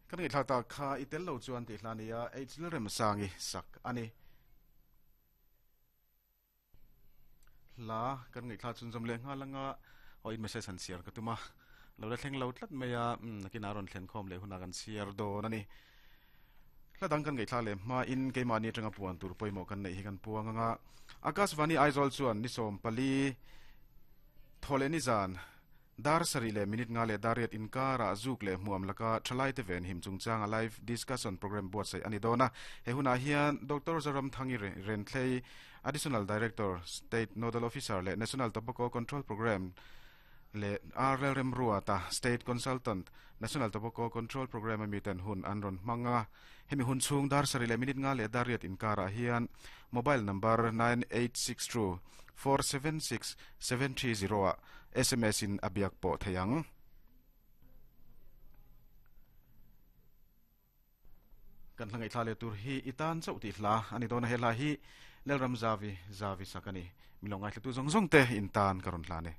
Kan ngaihthlak tak kha i tel lo chuan tih hla nia H Lalremsangi sak a ni. Hla kan ngaihthlak chhunzawm leh nghal anga aw in message han chhiar ka tum a, lo la thleng lo tlat mai a, umm nakinah a rawn thlen khawm leh hunah kan chhiar dawn a ni. Hla dang kan ngaihthlak leh hmain keimahni atanga puan tur pawimawh kan neih hi kan puang anga Akashvani Aizawl chuan ni 14 thaw leh nizan Dar sarih leh minute nga leh dar riat inkarah zuk leh hmuam laka thalaite venhim chungchanga live discussion programme buatsaih a ni dawn a. He hunah hian Doctor Zoramthangi Renthlei, Additional Director, State Nodal Officer leh National Tobacco Control Programme leh R Lalremruata, State Consultant, National Tobacco Control Programme a miten hun an rawn hmang a. Hemi hun chhung dar sarih leh minute nga leh dar riat inkarah hian mobile number 9862 476 730 ah sms in a biak pawh thei ang. Kan hla ngaihthla leh tur hi i tan chauh tih hla a ni dawn a, he hla hi Lalram Zavi Zavi sak a ni. Min lo ngaithlatu zawng zawng te in tan ka rawn hlan e.